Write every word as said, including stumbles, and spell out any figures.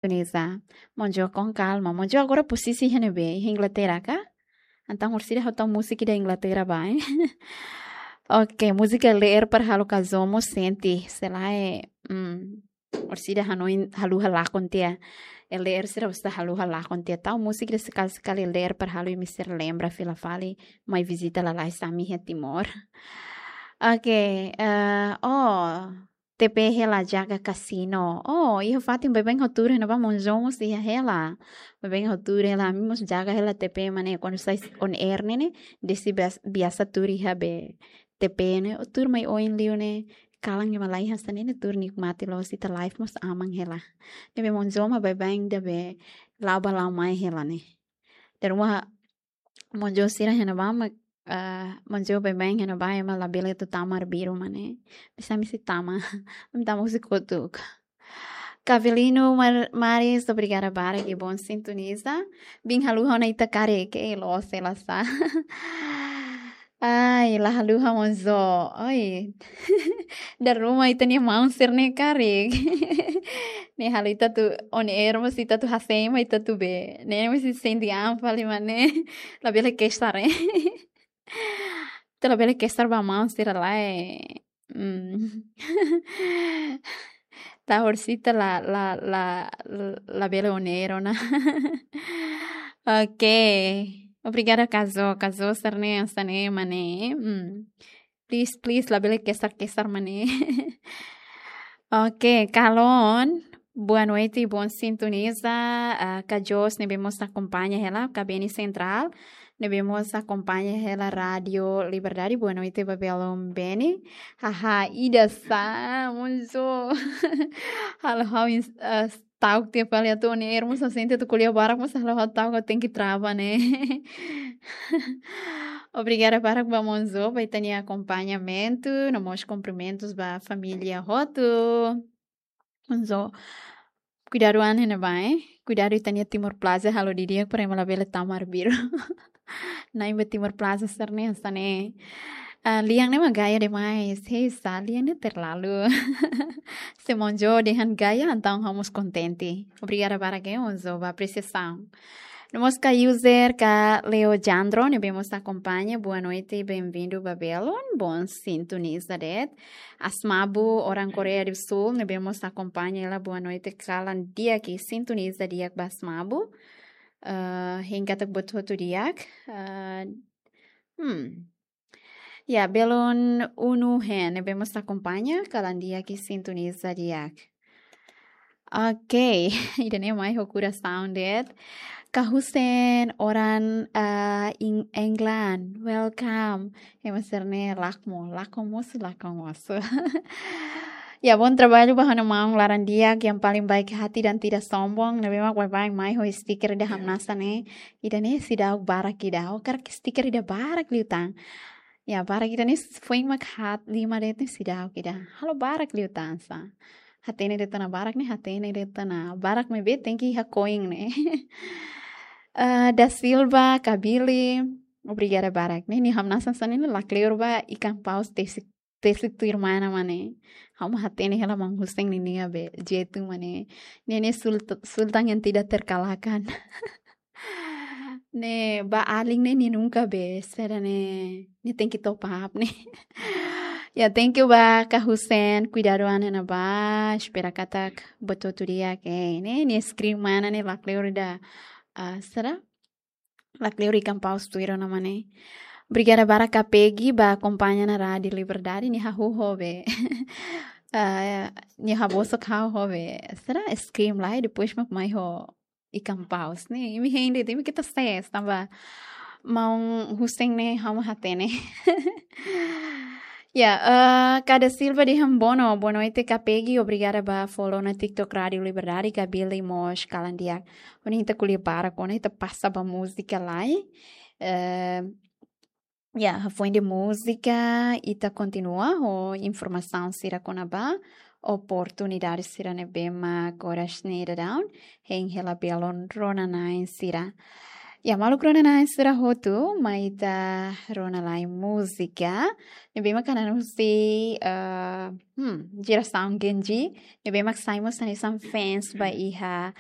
Tunisa. Monjo com calma. Monjo agora posisi iha ne'ebé? Iha Inglaterra ka? Entaun orsida ha'u tau múzika ida Inglaterra ba, eh? Oke, múzika L D R para halo kazó mós sente. Selae, mm, orsida hanoin haluha lakon tiha. L D R sira orsida haluha lakon tiha. Tau múzika ida sekali-sekali L D R para halo imi sira lembra fila fali mai vizita lalais ami iha Timor. Oke, eh, oh, T P hela jaga kasino. Oh, iha fatin baibain ha'u tuur iha ne'ebá, Monjo mós iha hela. Baibain ha'u tuur hela, ami mós jaga hela T P mak ne'e, kuandu sai on air ne'e ne'e, desi bias-, biasa tuur iha be T P ne'e, ha'u tuur mai oin liu ne'e, kalan ema la iha hanesan ne'e ne'e, tuur nikmati loos ita live mós aman hela. Ne'ebé Monjo mak baibain ida be la'o bá la'o mai hela ne'e. Dala ruma Monjo sira iha ne'ebá mak, ah, Monjo baibain iha ne'ebá ema labele atu tama arbiru mak ne'e. Bisa ami sei tama. Ami tama husi kotuk. Kavelino Mar-, Maris, obrigada barak, que bom sintoniza. Bin haluha ona ita karik, eh, loos hela sá. Ai, la haluha Monjo. Oi. Dala ruma ita-nia maun sira-ne'e karik. Ne'e halo ita atu on air mós ita atu hase'e mak ita atu be. Ne'e mós sente an fali mak ne'e. Labele kesar, eh. Ita labele kesar ba maun sira lai. Hmm. Ita orsida la, la, la, labele on air ona. Oke. Obrigada, kazó. Kazó sira-ne'e, sira-ne'e mak ne'e. Hmm. Please, please, labele kesar-kesar mak ne'e. Oke, Kalon. Boa noite, bom sintoniza. Ah, Kajos, ne'ebé mós akompaña hela, Kabeni Central. Ne'ebé mós akompaña hela Rádio Liberdade. Boa noite, ba belun Beni. Haha, ida sá, Monjo. Halo ha'u ins-, ah, ta'uk tiha fali atu on air mós sente atu ko'alia barak mós halo ha'u ta'uk, ha'u tenke trava ne'e. Obrigada barak ba Monjo, ba ita-nia akompañamentu, no mós kumprimentus ba família hotu. Monjo, kuidadu an iha ne'ebá, eh? Kuidadu ita-nia Timor Plaza halo didi'ak para ema labele tama arbiru. Na'in ba Timor Plaza sira-ne'e hanesan ne'e. Ah, lian ne'e mak gaya demais. Hei, sá, lian ne'e terlalu. Se Monjo dehan gaya, entaun ha'u mós kontente. Obrigada barak, eh, Monjo, ba apresiasaun. No mós ka user ka Leo Jandro, ne'ebé mós akompaña. Boa noite, bem-vindo, ba belun. Bom sintoniza de'it. Asmabu, orang Koreia do Sul, ne'ebé mós akompaña hela. Boa noite, kalan di'ak, sintoniza di'ak ba Asmabu. Ah, hein katak buat hotu di'ak. Ah, hmm. Ya, belun Unu Hen, ne'ebé mós akompaña, kalan di'ak, sintoniza di'ak. Oke, ida-ne'e mai ho korasaun de'it. Ka Hussein, orang, ah, in England, welcome. Ema sira-ne'e lakon, lakon mosu, lakon mosu. Ya, bom trabalho ba ha'u-nia maun laran di'ak, yang paling baik hati dan tidak sombong. Ne'ebé mak baibain mai ho stiker ida hamnasa ne'e. Ida-ne'e seidauk barak ida. Ha'u hakarak stiker ida barak liután. Ya, barak ida-ne'e foin mak haat lima de'it ne'e seidauk ida. Halo barak liután sá. Hatene de'it ona barak ne'e, hatene de'it ona barak maibé tenke iha koin ne'e. Eh, Da Silva, Kabili, obrigada barak. Ne'e, nia hamnasa hanesan ne'e, lakleur ba ikan paus tesi, tesi tuir mana mak ne'e. Ha'u mak hatene hela maun Hussein ninia be jeitu mak ne'e. Ne'e, ne'e sult-, sultan yang tidak terkalahkan. Ne'e ba alin ne'e, nia nunka be, sira ne'e, nia tenke top up ne'e. Ya, thank you ba Ka Hussein, kuidadu an iha ne'ebá, espera katak buat hotu di'ak, eh, ne'e, nia screen mana ne'e, lakleur ida, ah, sira? Lakleur ikan paus tuir ona mak ne'e. Obrigada barak Ka Peggy, ba akompaña ona Rádio Liberdade, nia hahú ho be. Ah, nia habosok ha'u ho be. Sira screen lai, depois mak mai ho ikan paus ne'e, imi hein de'it, imi keta ses, tanba maun Hussein ne'e ha'u mak hatene. Ya, eh, Ka Da Silva dehan bono, boa noite, Ka Peggy, obrigada ba follow ona TikTok Rádio Liberdade, Ka Billy mós kalan di'ak. Ohin ita ko'alia barak ona, ita pasa ba múzika lai. Eh, Ya, hafoin de múzika, ita kontinua ho informasaun sira kona-ba oportunidade sira ne'ebé mak oras ne'e daudaun hein hela belun rona-na'in sira. Ya, maluk rona-na'in sira hotu, mai ita rona lai múzika ne'ebé mak hanesan husi, eh, hmm, jerasaun Gen Z, ne'ebé mak sai mós hanesan fans ba iha